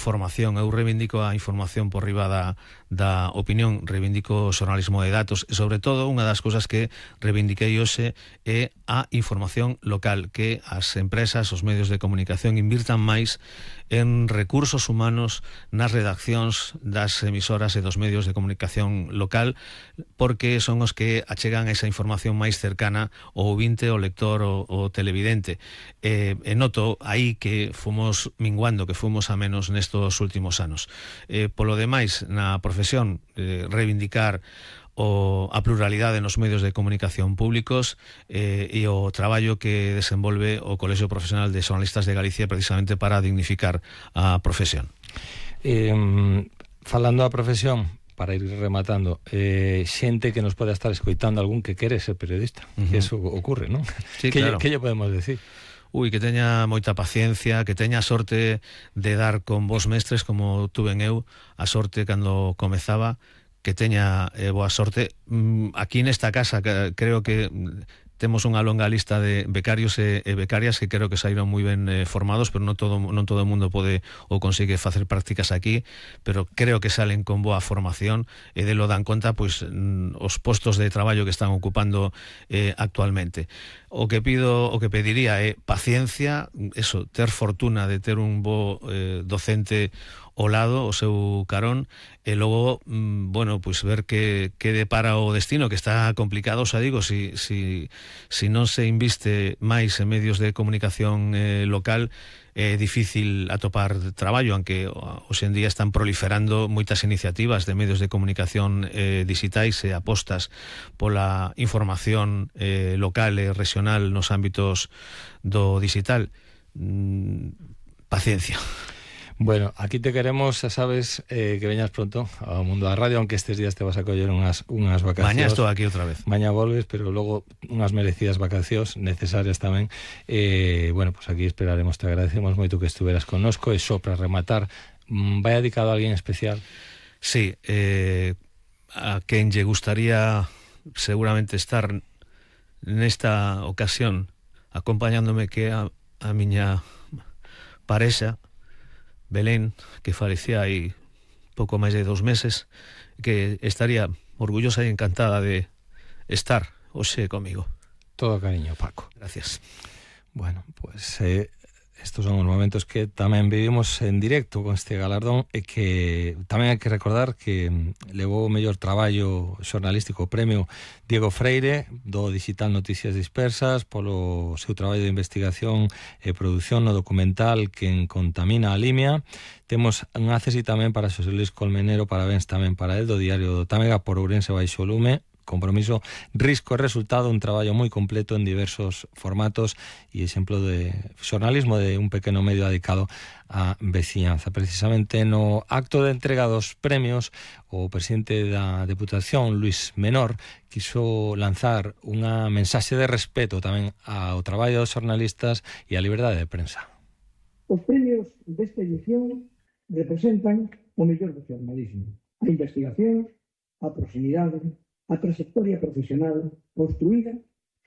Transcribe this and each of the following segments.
información. Eu reivindico a información por riba da opinión, reivindico o xornalismo de datos e, sobre todo, unha das cousas que reivindiquei hoxe é a información local, que as empresas, os medios de comunicación invirtan máis en recursos humanos nas redaccións das emisoras e dos medios de comunicación local, porque son os que achegan esa información máis cercana ao ouvinte, ao lector, ao televidente. E noto aí que fomos minguando, que fomos a menos nestos últimos anos. Polo demais, na profesión, reivindicar a pluralidade nos medios de comunicación públicos e o traballo que desenvolve o Colexio Profesional de Xornalistas de Galicia precisamente para dignificar a profesión. Falando da profesión, para ir rematando, xente que nos pode estar escoitando, algún que quere ser periodista, que eso ocurre, non? Sí, claro. Que lle podemos decir? Que teña moita paciencia, que teña a sorte de dar con vos mestres como tuven eu, a sorte cando comezaba, que teña boa sorte. Aquí nesta casa creo que temos unha longa lista de becarios e becarias que creo que saíron moi ben formados, pero non todo o mundo pode ou consigue facer prácticas aquí, pero creo que salen con boa formación e de lo dan conta pois os postos de traballo que están ocupando actualmente. O que pediría é paciencia, eso, ter fortuna de ter un bo docente ao lado, o seu carón, e logo, bueno, pois ver que depara o destino, que está complicado, xa digo, si non se inviste máis en medios de comunicación local, é difícil atopar traballo, aunque hoxe en día están proliferando moitas iniciativas de medios de comunicación digitais e apostas pola información local e regional nos ámbitos do digital. Paciencia. Bueno, aquí te queremos, xa sabes, que veñas pronto ao mundo da radio, aunque estes días te vas a coller unhas vacacións. Mañá estou aquí outra vez. Mañá volves, pero logo unhas merecidas vacacións necesarias tamén. Bueno, pues aquí esperaremos, te agradecemos moito que estuveras connosco, e só para rematar, vai dedicado a alguén especial? Sí, a quen lle gustaría seguramente estar nesta ocasión acompañándome, que a miña parexa Belén, que falecía hai pouco máis de 2 meses, que estaría orgullosa e encantada de estar hoxe comigo. Todo cariño, Paco. Gracias. Bueno, pues estos son os momentos que tamén vivimos en directo con este galardón, e que tamén hai que recordar que levou o mellor traballo xornalístico o premio Diego Freire do digital Noticias Dispersas polo seu traballo de investigación e produción no documental Quen contamina a Limia. Temos un acesi tamén para Xosé Luis Colmenero, parabéns tamén para el, do diario do Támega, por Ourense baixo o lume. Compromiso, risco e resultado, un traballo moi completo en diversos formatos e exemplo de xornalismo de un pequeno medio dedicado á veciñanza. Precisamente no acto de entrega dos premios, o presidente da Deputación, Luís Menor, quiso lanzar unha mensaxe de respeto tamén ao traballo dos xornalistas e á liberdade de prensa. Os premios desta edición representan o mellor do xornalismo, a investigación, a proximidade, a trayectoria profesional construída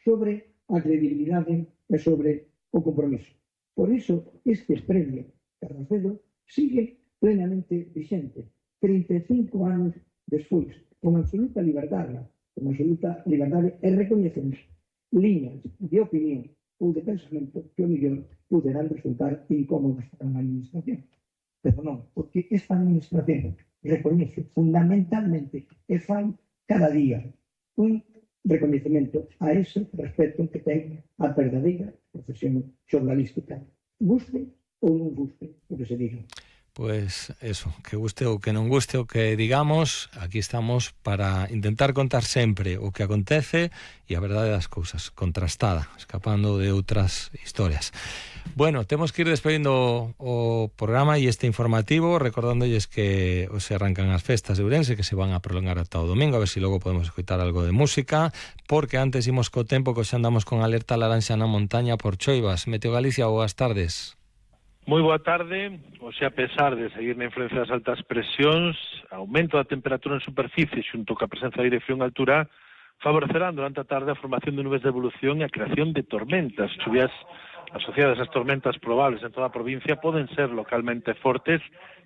sobre a credibilidade e sobre o compromiso. Por iso, este premio Carracedo sigue plenamente vigente, 35 anos despois, con absoluta liberdade, e recoñecemos liñas de opinión ou de pensamento que o mellor poderán resultar incómodos para unha administración. Pero non, porque esta administración recoñece fundamentalmente e fai cada día un recoñecemento a ese respeto que ten a verdadeira profesión xornalística, guste ou non guste o que se diga. Pues eso, que guste ou que non guste o que digamos, aquí estamos para intentar contar sempre o que acontece e a verdade das cousas, contrastada, escapando de outras historias. Bueno, temos que ir despedindo o programa e este informativo, recordándolles que se arrancan as festas de Ourense, que se van a prolongar ata o domingo, a ver se logo podemos escoitar algo de música, porque antes imos co tempo, que xa andamos con alerta laranxa na montaña por choivas. Meteo Galicia, boas tardes. Moi boa tarde. Oxe, a pesar de seguir na influencia das altas presións, aumento da temperatura en superficie xunto ca presenza de aire frío en altura favorecerán durante a tarde a formación de nubes de evolución e a creación de tormentas. Chuvias asociadas ás tormentas probables en toda a provincia poden ser localmente fortes